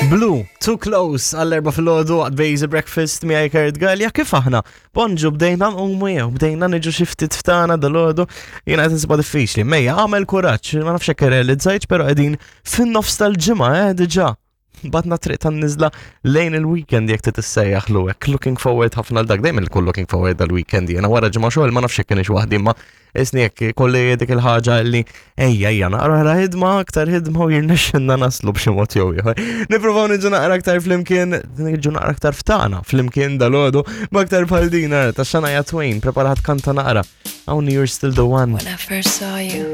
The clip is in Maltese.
Blue, Too Close, għall-erba fil-ħodu, għad Bejzi Breakfast, miegħi Kurt Gallia, kif aħna? Bonġu, bdejna nqumu jew, bdejna niġu xi ftit ftana dal-ħodu, jiena qed insibha diffiċli. Mejja, għamel kuraġġ, ma nafx hekk irrealizzajtx, però qegħdin fin-nofs tal-ġimgħa, eh, diġà. Batna triq tan-niżla lejn il-weekend jekk titissejjaħ lu hekk. Looking forward ħafna għal dak, dejjem il looking forward għal-weekend jiena wara ġimgħa xogħol ma nafx jekk kienx waħdi imma Isni jekk kolli dik il-ħaġa li ejja ejja naqra ħidma aktar ħidma u jirnexxinna naslu b'xi mod jew ieħor. Nippruvaw niġu naqra aktar flimkien, niġu naqra aktar ftana flimkien dalodu b'aktar bħal din ta' Shania Twain preparat kanta naqra. Hawn you're still the one. When I first saw you.